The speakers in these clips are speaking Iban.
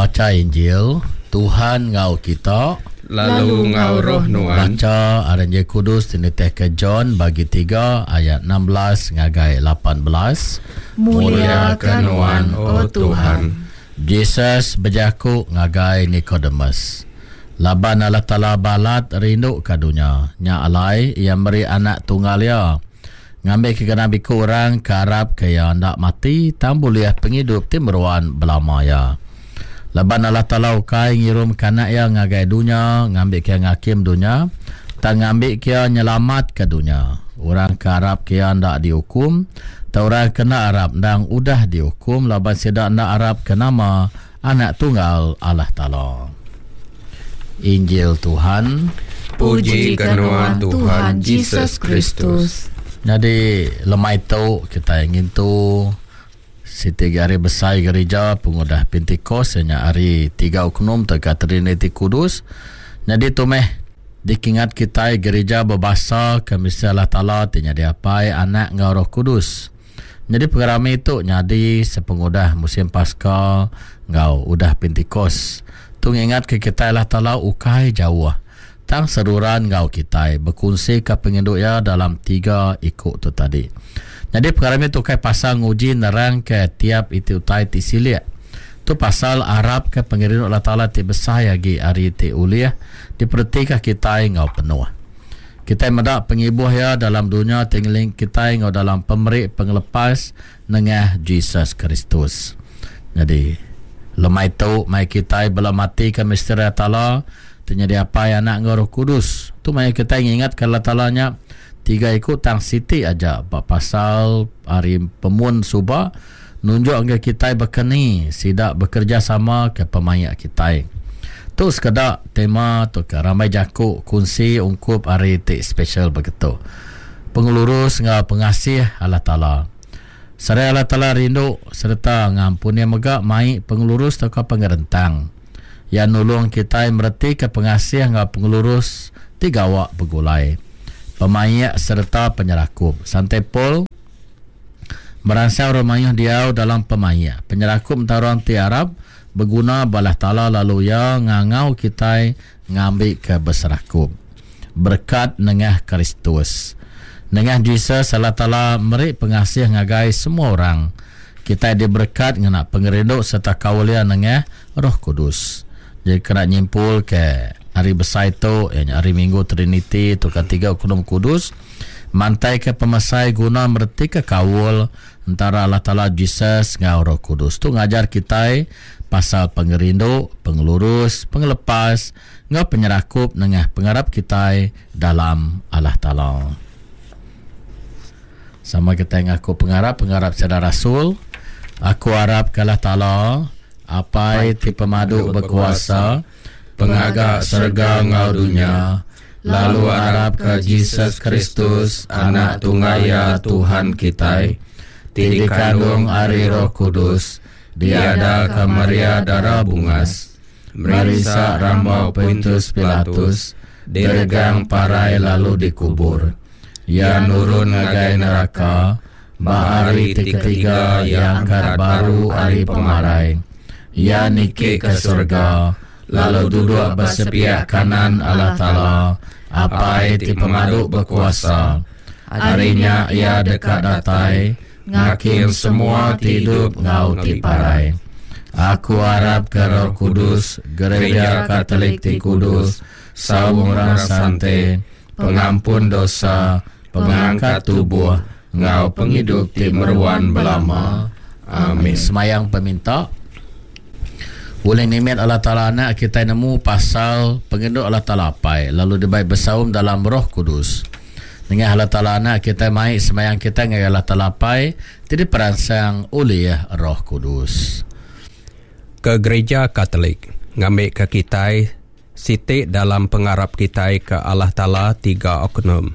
Bacha Injil, Tuhan enggau kita. Lalu enggau roh nuan. Bacha ari Injil Kudus ti nitihka John bagi tiga ayat 16 ngagai 18. Mulia ke nuan, O Tuhan. Jesus bejaku ngagai Nikodemus, Laban Allah Taala balat rinduka dunya, nya alai Iya meri Anak Tunggal Iya, ngambika genap iku orang ke arapka Iya enda mati tang bulih pengidup ti meruan belama iya. Laban Allah Taala ukai ngirumka Anak Iya ngagai dunya ngambika Iya ngakim dunya, tang ngambika Iya nyelamatka dunya. Orang ke arapka Iya enda diukum, tang orang ke enda arap endang udah diukum laban sida enda arapka nama Anak Tunggal Allah Taala. Injil Tuhan. Puji ke nuan Tuhan Jesus Kristus. Nyadi lemai tu kitai ngintu Siti agi hari besai gerija pengudah Pentikos iya nya hari tiga Oknum tauka Triniti Kudus. Nyadi tu meh dikingat kitai gerija bebasa ke mesti Allah Taala ti nyadi Apai, Anak enggau Roh Kudus. Nyadi pengerami tu nyadi sepengudah musim Paska enggau udah Pentikos. Tu ngingatka kitai Allah Taala ukai jauh tang seruran enggau kitai bekunsika pengindu iya dalam tiga iku tu tadi. Nyadi pengerami tu ukai pasal nguji nerangka tiap iti utai ti silik. Tu pasal arapka pengerindu Allah Taala ti besai agi ari ti ulih diperetika kitai enggau penuh. Kitai meda pengibuh iya dalam dunya ti ngelingi kitai enggau dalam pemeri pengelepas nengah Jesus Kristus. Nyadi, lemai tu mai kitai bela matika misteri Allah Taala ti nyadi Apai, Anak enggau Roh Kudus. Tu maya kitai ngingatka Allah Taala nya tiga iku tang siti aja ba pasal ari pemun suba nunjuk ngagai kitai baka ni sida bekerejasama ke pemaik kitai. Tu sekeda tema tauka rambai jaku kunsi ungkup hari ti spesial begitu. Pengelurus enggau pengasih Allah Taala. Seraya Allah Taala rindu sereta ngampun Iya mega mai pengelurus tauka pengerentang. Iya nulung kitai meretika pengasih enggau pengelurus ti gawa begulai, pemaik sereta penyerakup. Sante Paul meransang orang mayuh diau dalam pemaik. Penyerakup entara orang ti arap beguna ba Allah Taala lalu Iya ngangau kitai ngambika beserakup. Berekat nengah Kristus. Nengah Jesus, Allah Taala meri pengasih ngagai semua orang. Kitai diberekat ngena pengerindu sereta kaul Iya nengah Roh Kudus. Jadi kena nyimpul ke hari besai tu iya nya hari Minggu Triniti tauka Tiga Oknum Kudus mantaika pemesai guna meretika kaul entara Allah Taala Jesus enggau Roh Kudus. Tu ngajar kitai pasal pengerindu, pengelurus, pengelepas enggau penyerakup nengah pengarap kitai dalam Allah Taala. Sama kitai ngaku pengarap pengarap sida rasul. Aku arap ke Allah Taala, Apai ti pemadu bekuasa, Pengaga serega enggau dunya, lalu arap ke Jesus Kristus, Anak Tunggal Iya Tuhan kitai, ti dikandung ari Roh Kudus, diadaka Maria Dara Bungas, merinsa rambau Pontius Pilatus, diregang parai lalu dikubur. Iya nurun ngagai neraka, ba hari ti ketiga iya angkat baru ari pemarai. Iya niki ke serega, lalu duduk ba sepiak kanan Allah Taala, Apai ti Pemadu Bekuasa. Ari nya iya deka datai ngakim semua ti idup enggau ti parai. Aku arapka Roh Kudus, Gereja Katolik ti kudus, saum orang sante, pengampun dosa, pengangkat tubuh, enggau pengidup ti meruan belama. Amin. Semayang peminta. Ulih nimit Allah Taala Anak kitai nemu pasal pengindu Allah Taala Apai lalu dibai besaum dalam Roh Kudus. Nengah Allah Taala Anak kitai mai semayang kitai ngagai Allah Taala Apai ti diperansang ulih Roh Kudus. Ke Gerija Katolik ngambika kitai Siti dalam pengarap kitai ke Allah Taala tiga oknum.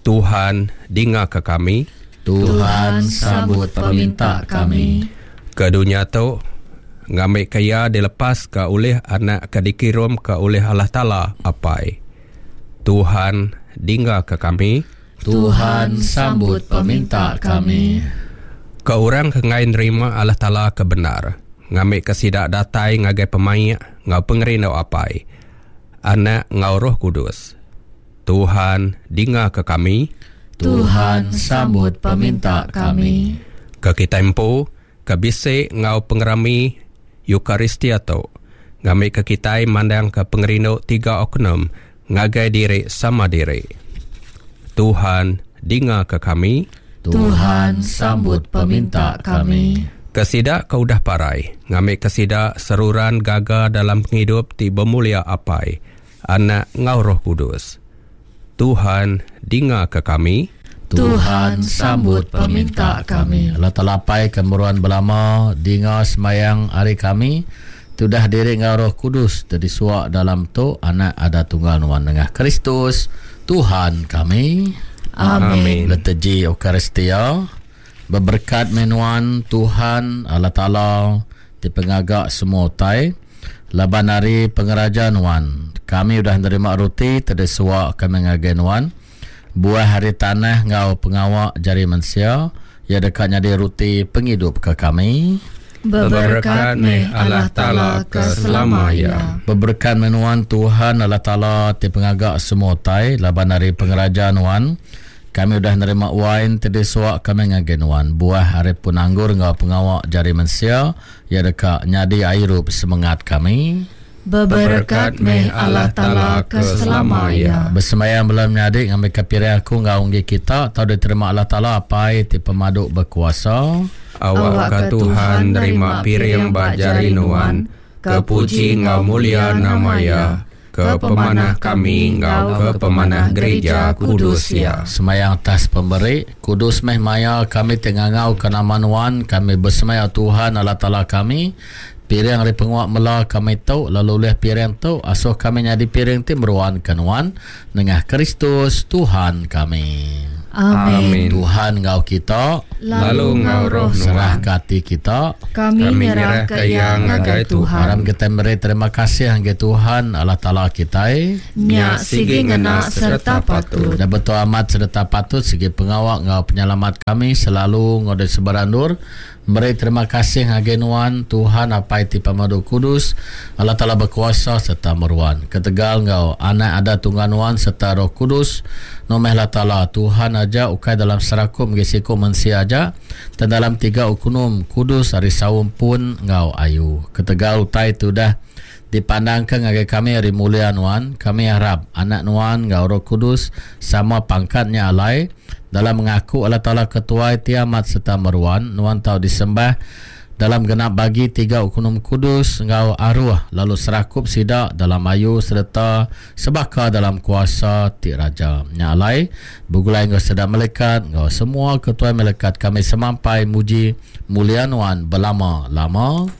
Tuhan, dingaka kami. Tuhan, sambut peminta kami. Ke dunya tu, ngambika iya dilepaska ulih Anak ke dikirumka ulih Allah Taala Apai. Tuhan, dingaka kami. Tuhan, sambut peminta kami. Ke orang ke enggai nerima Allah Taala ke bendar. ngambika sida datai ngagai pemaik enggau pengerindu Apai, Anak enggau Roh Kudus. Tuhan, dingaka kami. Tuhan, sambut peminta kami. Ke kitai empu, ke bisi enggau pengerami Eucharistia tu, ngambika kitai mandangka pengerindu tiga oknum ngagai diri sama diri. Tuhan, dingaka kami. Tuhan, sambut peminta kami. Ke sida ke udah parai, ngambika sida seruran gaga dalam pengidup ti bemulia Apai, Anak enggau Roh Kudus. Tuhan, dingaka kami. Tuhan, sambut peminta kami. Allah Taala Apai ke meruan belama, dinga sembahyang ari kami, ti udah diri enggau Roh Kudus ti disuak dalam tu Anak Ada Tunggal Nuan nengah Kristus, Tuhan kami. Amin. Liturgi Eucharistia, Beberekat meh nuan, Tuhan, Allah Taala, ti pengaga semua utai, laban ari pengeraja nuan, kami udah nerima ruti ti disuwa kami ngagai nuan, buah ari tanah enggau pengawa jari mensia, iya deka nyadi ruti pengidup ke kami. Beberekat meh Allah Taala ke selama iya. Beberekat meh nuan, Tuhan, Allah Taala, ti pengaga semua utai, laban ari pengeraja nuan, Kami udah nerima wain ti disuak kami ngagai nuan, buah ari pun anggur enggau pengawa jari mensia, iya deka nyadi airup semengat kami. Beberekat meh Allah Taala ke selama iya. Besembayang bala menyadi ngambika piring aku enggau enggi kita tau diterima Allah Taala Apai ti pemadu bekuasa. Awakka Tuhan nerima piring ba jari nuan, ke puji enggau mulia nama Iya. Ke pemanah kami enggau ke pemanah gerija kudus Iya. Semayang atas pemeri. Kudus meh maya kami ti ngangauka nama Nuan, kami besemaya Tuhan Allah Taala kami, piring ari penguap mela kami tu, lalu ulih piring tu, asuh kami nyadi piring ti meruan ke Nuan, nengah Kristus Tuhan kami. Amin. Tuhan enggau kita. Lalu enggau roh nuan. Serahka ati kita. Kami nyerahka iya ngagai Tuhan. Aram kitai meri terima kasih ngagai Tuhan Allah Taala kitai. Nya sigi ngena sereta patut. Nya betul amat sereta patut sigi pengawa enggau penyelamat kami selalu enggau di sebarang endur. Meri terima kasih ngagai Nuan, Tuhan Apai ti Pemadu Kudus, Allah Taala Bekuasa sereta Meruan. Ketegal enggau Anak Ada Tunggal Nuan sereta Roh Kudus, Nuan meh Allah Taala, Tuhan aja ukai dalam serakup enggi siku mensia aja, tang dalam tiga ukunum kudus ari saum pun enggau ayu. Ketegal utai ti udah dipandangka ngagai kami ari mulia Nuan, kami arap Anak Nuan enggau Roh Kudus sama pangkat nya alai, Dalam ngaku Allah Taala ke Tuai ti amat sereta meruan, nuan tau disembah dalam genap bagi tiga ukunum kudus enggau aruh lalu serakup sida dalam ayu sereta sebaka dalam kuasa ti raja. Nya alai, begulai enggau sida melikat enggau semua ketuai melikat kami semampai muji mulia nuan belama-lama.